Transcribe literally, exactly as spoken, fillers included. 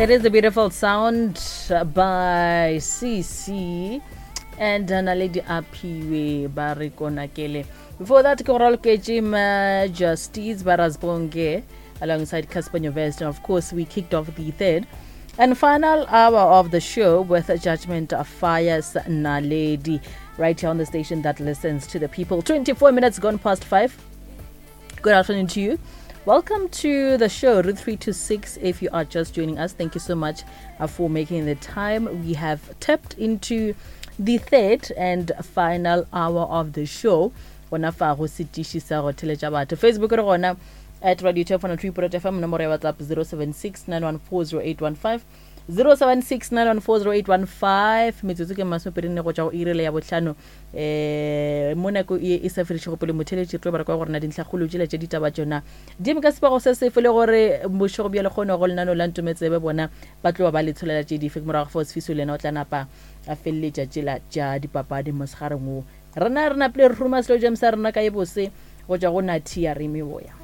It is a beautiful sound by C C and Naledi Aphiwe ba re konakele. Before that, ke go raloketše Majesties ba Rasbonge alongside Cassper Nyovest. And of course, we kicked off the third and final hour of the show with Judgment of Fires Naledi right here on the station that listens to the people. twenty-four minutes gone past five. Good afternoon to you. Welcome to the show, Route three to six. If you are just joining us, thank you so much uh, for making the time. We have tapped into the third and final hour of the show. Gona fa go setiši sa go theletša batho. Facebook re gona at Radio two point three F M, nomoro ya WhatsApp zero seven six nine one four zero eight one five, zero seven six nine one four zero eight one five. Metsotso ke masomepedi nne go tšwa go irele ya bohlano. um mo nako e e sa fedišego pele, motheletši, re tlo bara kwa gore na dintlhakgolo tšela tše ditaba tšona di eme ka sepago se sefe, le gore bošego bja lekgono go lenano la ntometsebe bona ba tlo ba ba le tsholela tše dife. Ke morago fao Sefiso le yena o tla napa a feleletša tšela tša dipapadi mosegareng wo. Rena re napile re ruma selo james sa rena ka e bose go tšwa go Nathi ya re meboya.